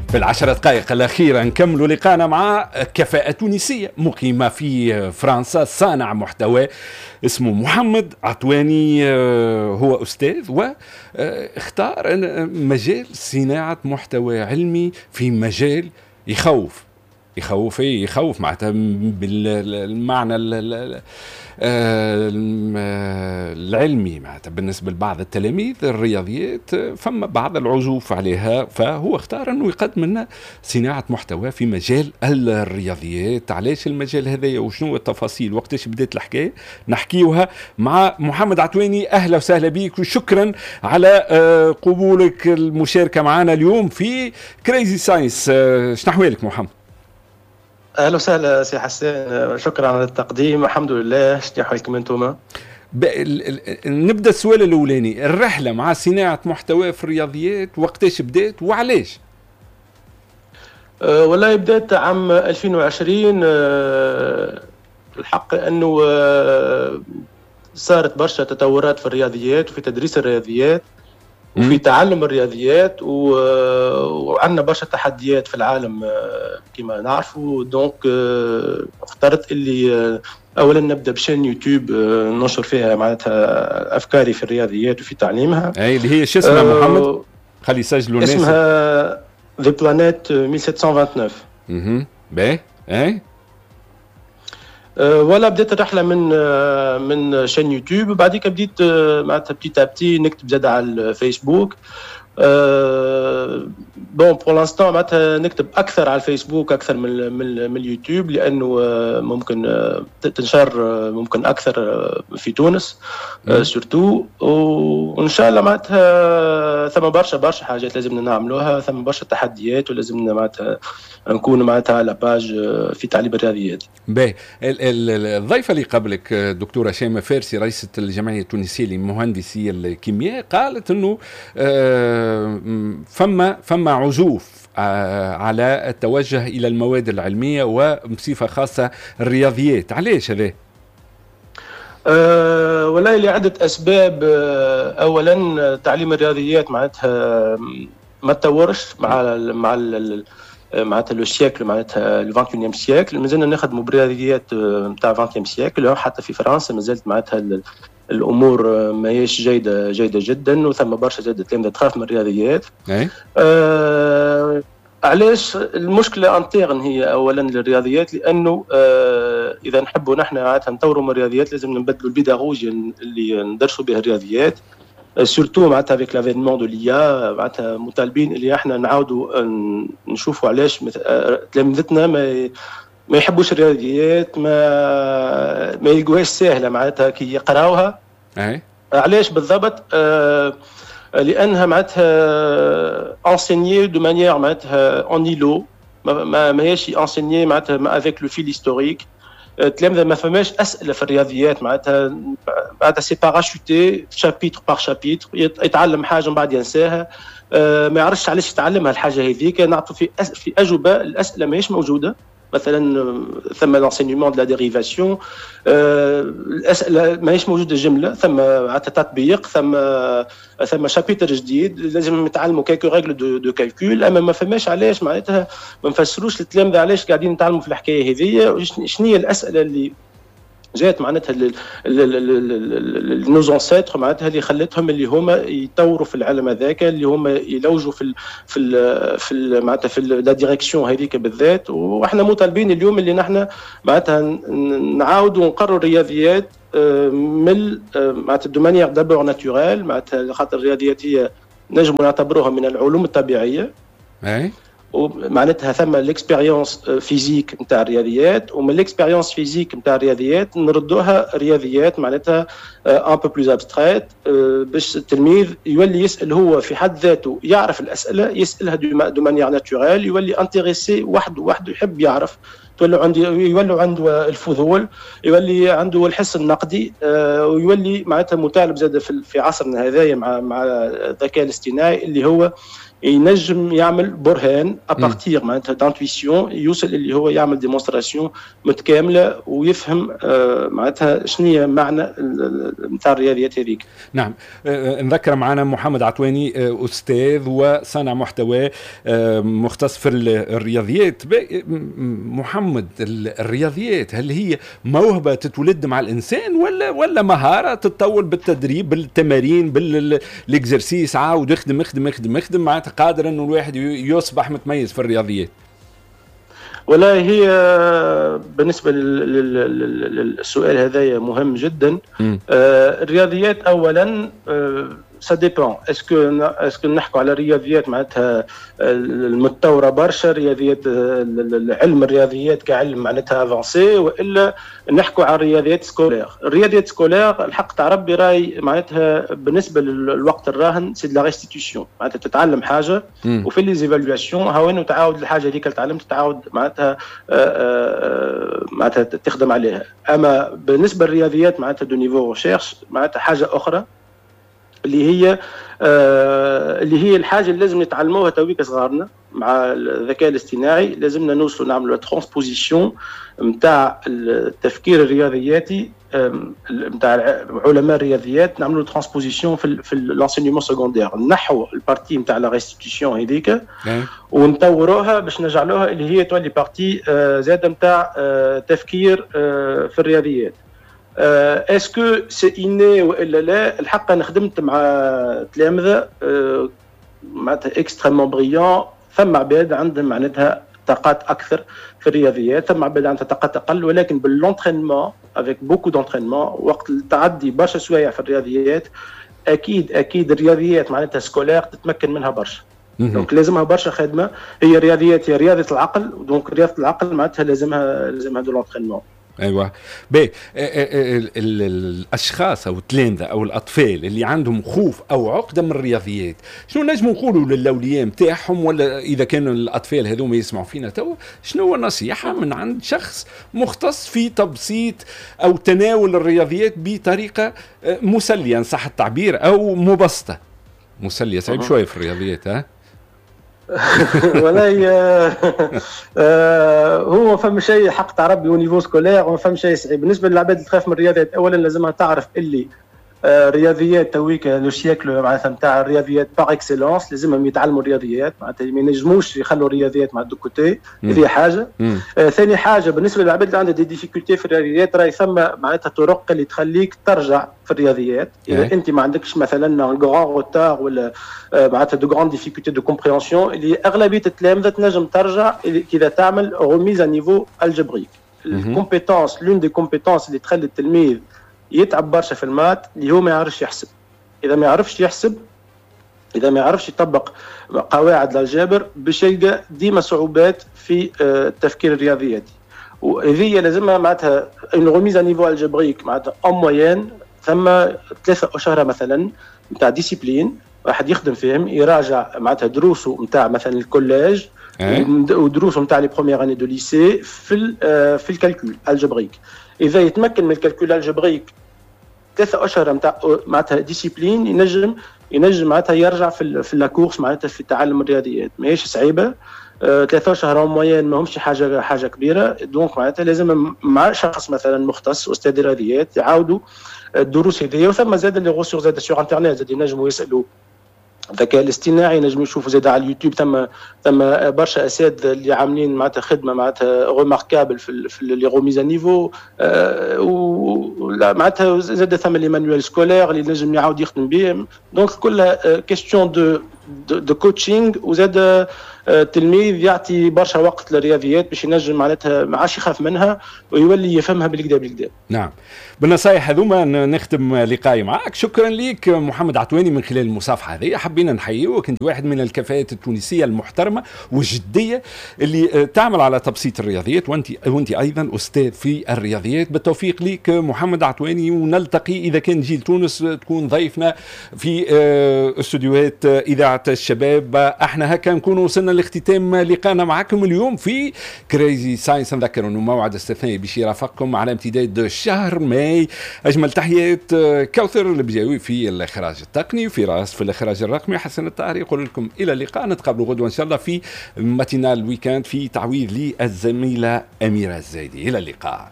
في ال10 دقائق الأخيرة نكمل لقاءنا مع كفاءة تونسية مقيمة في فرنسا، صانع محتوى اسمه محمد عطواني، هو أستاذ واختار مجال صناعة محتوى علمي في مجال يخوف، يخوف ايه؟ يخوف معناتها بالمعنى العلمي، معناتها بالنسبة لبعض التلاميذ الرياضيات فما بعض العزوف عليها، فهو اختار انه يقدم لنا صناعة محتوى في مجال الرياضيات. علاش المجال هذايا وشنو التفاصيل، وقتاش بدات الحكايه؟ نحكيوها مع محمد عطواني. اهلا وسهلا بك وشكرا على قبولك المشاركة معنا اليوم في Crazy Science. شنو احوالك محمد؟ اهلا وسهلا سي حسان، شكرا على التقديم. الحمد لله، شنو احوالكم انتم؟ نبدا السؤال الاولاني، الرحلة مع صناعة محتوى في الرياضيات وقتاش بدات وعلاش؟ والله بدات عام 2020. الحق انه صارت برشا تطورات في الرياضيات وفي تدريس الرياضيات وفي تعلم الرياضيات، وعندنا برشا تحديات في العالم كما نعرفوا. donc اخترت اللي اولا نبدا ب chaîne YouTube ننشر فيها معناتها افكاري في الرياضيات وفي تعليمها. اي، اللي هي شو اسمها محمد؟ خلي يسجلوا الناس. اسمها The Planet 1729. باهي، اي. ولا بديت الرحلة من chaîne YouTube، وبعديك بديت معناتها petit à petit نكتب زاد على الفيسبوك. bon، pour l'instant معناتها نكتب اكثر على الفيسبوك اكثر من اليوتيوب، لانه ممكن تنشر ممكن اكثر في تونس surtout. وان شاء الله معناتها ثم برشا برشا حاجات لازمنا نعملوها، ثم برشا تحديات، ولازمنا معناتها نكون معناتها à la page في تعليم الرياضيات. باهي، الضيفه اللي قبلك دكتورة شيماء فارسي، رئيسه الجمعية التونسية لمهندسي الكيمياء، قالت انه فما عزوف على التوجه الى المواد العلمية وبصفه خاصة الرياضيات. علاش هذا؟ والله لعدة أسباب. أولا تعليم الرياضيات معناتها ما تطورش مع معناتها le siècle، معناتها le 21 siècle. مازلنا نخدموا برياضيات نتاع 20 siècle. حتى في فرنسا مازالت معناتها الامور ماهيش جيدة جيدة جدا، وثم برشا زاد تلامذه تخاف من الرياضيات. علاش المشكلة interne هي اولا للرياضيات؟ لانه اذا نحبوا نحن معناتها نطوروا من الرياضيات لازم نبدلوا البيداغوجيا اللي ندرسوا بها الرياضيات، surtout معناتها avec l'avènement de l'IA. معناتها مطالبين اللي احنا نعاودوا نشوفوا علاش تلامذتنا ما يحبوش الرياضيات، ما يلقوهاش سهلة معناتها كي يقراوها. علاش بالضبط؟ لانها معناتها enseignée de manière معناتها en îlot، ما ماهيش enseignée معناتها avec le fil historique. التلامذه ما فماش اسئلة في الرياضيات، معناتها c'est parachuté chapitre par chapitre. يتعلم حاجة من بعد ينساها، ما يعرفش علاش يتعلمها الحاجة هذيك. نعطوا في اجوبه الاسئلة ماهيش موجوده. مثلا ثم l'enseignement de la dérivation، الاسئلة ماهيش موجودة جمله. ثم تطبيق، ثم chapitre جديد لازم نتعلموا quelques règles de calcul، اما ما فماش علاش، معناتها ما نفسروش للتلامذه علاش قاعدين نتعلموا في الحكاية هذه، شنو هي الاسئلة اللي جات معناتها nos ancêtres، معناتها اللي خلتهم اللي هما يطوروا في العلم هذاك، اللي هما يلوجوا في ال معناتها في la direction هذيك بالذات. واحنا مطالبين اليوم اللي نحن معناتها نعاودوا نقروا الرياضيات من معناتها de manière d'abord naturelle، معناتها خاطر الرياضيات هي نجم نعتبروها من العلوم الطبيعيه. ومعناتها ثم l'expérience physique نتاع الرياضيات، ومن l'expérience physique نتاع الرياضيات نردوها رياضيات معناتها un peu plus abstraites، باش التلميذ يولي يسال هو في حد ذاته، يعرف الاسئلة يسالها de manière naturelle، يولي intéressé وحده وحده، يحب يعرف، تولي عنده يولوا عنده الفضول، يولي عنده الحس النقدي، ويولي معناتها مطالب زاد في عصرنا هذايا مع الذكاء الاصطناعي اللي هو ينجم يعمل برهان à partir معناتها d'intuition، يوصل اللي هو يعمل démonstration متكاملة ويفهم معناتها شنو هي معنى نتاع الرياضيات هذيك. نعم، نذكر معنا محمد عطواني، استاذ وصانع محتوى مختص في الرياضيات. محمد، الرياضيات هل هي موهبة تتولد مع الانسان ولا مهارة تتطور بالتدريب، بالتمارين، بال exercices، عاود اخدم اخدم اخدم اخدم، معناتها قادر انه الواحد يصبح متميز في الرياضيات؟ والله هي بالنسبة للسؤال هذا مهم جدا. الرياضيات اولا ça dépend، est-ce que نحكوا على رياضيات معناتها المتطورة برشا، رياضيات علم الرياضيات كعلم معناتها avancé، والا نحكوا على الرياضيات scolaires؟ الرياضيات scolaires الحق تاع ربي راي معناتها بالنسبة للوقت الراهن c'est de la restitution، معناتها تتعلم حاجة وفي les évaluations هاو تعاود الحاجة هذيك اللي تعلمت، تعاود معناتها تخدم عليها. اما بالنسبة للرياضيات معناتها de niveau recherche معناتها حاجة اخرى اللي هي الحاجة اللي لازم نتعلموها تويك صغارنا مع الذكاء الاصطناعي. لازمنا نوصلوا نعملوا transposition نتاع التفكير الرياضياتي نتاع علماء الرياضيات، نعملوا transposition في l'enseignement secondaire، نحو ال partie نتاع la restitution هذيك ونطوروها باش نجعلوها اللي هي تولي partie زاده نتاع تفكير في الرياضيات. est-ce que c'est inné والا لا؟ الحق انا خدمت مع تلامذه معناتها extrêmement brillants. ثم عباد عندهم معناتها طاقات اكثر في الرياضيات، ثم عباد عندها طاقات اقل، ولكن بال l'entraînement، avec beaucoup d'entraînement، وقت التعدي برشا سوايع في الرياضيات، اكيد اكيد الرياضيات معناتها scolaires تتمكن منها برشا. donc لازمها برشا خدمه. هي الرياضيات هي رياضة العقل، donc رياضة العقل معناتها لازمها de l'entraînement. ايوه، باهي، الاشخاص او التلامذه او الاطفال اللي عندهم خوف او عقده من الرياضيات، شنو نجموا نقولوا للاولياء نتاعهم؟ ولا اذا كانوا الاطفال هذوما يسمعوا فينا تو، شنو هو النصيحة من عند شخص مختص في تبسيط او تناول الرياضيات بطريقة مسلية ان صح التعبير او مبسطه؟ مسلية صعيب شوية في الرياضيات، ها. والله هو فما شيء حق تاع ربي au niveau scolaire وما فما شيء صعيب. بالنسبة للعباد اللي تخاف من الرياضيات، اولا لازمها تعرف اللي رياضيات تويك le siècle معناتها نتاع الرياضيات par excellence. لازمهم يتعلموا الرياضيات، معناتها ما ينجموش يخلوا الرياضيات مع de côté. هذه حاجه. ثاني حاجه، بالنسبة للعباد اللي عندها des difficultés في الرياضيات، راهي ثم معناتها طرق اللي تخليك ترجع في الرياضيات اذا انت ما عندكش مثلا un grand retard ولا معناتها de grandes difficultés de compréhension، اللي اغلبية التلامذه تنجم ترجع اذا تعمل remise à niveau algébrique. ال compétence، l'une des compétences اللي تخلي التلميذ يتعب برشا في ال maths اللي هو ما يعرفش يحسب. اذا ما يعرفش يحسب، اذا ما يعرفش يطبق قواعد الجبر، باش يلقى ديما صعوبات في التفكير الرياضياتي. وهذه لازمها معناتها une remise à niveau algébrique، معناتها en moyenne ثم 3 اشهر مثلا نتاع discipline، واحد يخدم فيهم، يراجع معناتها دروسه نتاع مثلا ال collège ودروسه نتاع les premières années de lycée في ال calcul algébrique. اذا يتمكن من ال calcul algébrique، 3 اشهر نتاع معناتها discipline، ينجم معناتها يرجع في la course معناتها في تعلم الرياضيات. ماهيش صعيبه، 3 اشهر en moyenne ماهمش حاجه كبيره. donc معناتها لازم مع شخص مثلا مختص، استاذ رياضيات، يعاودوا الدروس هذيا. وثم زاد les ressources زاد sur internet، زاد ينجموا يسالوا الذكاء الاصطناعي، نجم يشوفوا زاد على اليوتيوب، ثم برشا اساتذة اللي عاملين معناتها خدمة معناتها remarquable في les remises à niveau. معناتها زاد ثم les manuels scolaires اللي نجم يعاود يخدم بهم. donc كلها question de coaching، وزاد التلميذ يعطي برشا وقت للرياضيات باش ينجم معناتها ما عادش يخاف منها ويولي يفهمها بالكدا بالكدا. نعم، بالنصائح هذوما نختم لقائي معك. شكرا لك محمد عطواني. من خلال المصافحة هذه حبينا نحييك، انت واحد من الكفاءات التونسية المحترمة والجديه اللي تعمل على تبسيط الرياضيات، وانت ايضا استاذ في الرياضيات. بالتوفيق لك محمد عطواني، ونلتقي اذا كان جيت لتونس تكون ضيفنا في استوديوهات اذاعة اذاعة الشباب. احنا هكا نكون وصلنا لاختتام لقانا معكم اليوم في Crazy Science. نذكر انه موعد استثنائي باش يرافقكم على امتداد شهر ماي. اجمل تحيات كوثر البجاوي في الاخراج التقني، وفي راس في الاخراج الرقمي، حسن الطاهر يقول لكم الى اللقاء. نتقابلوا غدوه ان شاء الله في matinale week-end في تعويض للزميله اميره الزايدي. الى اللقاء.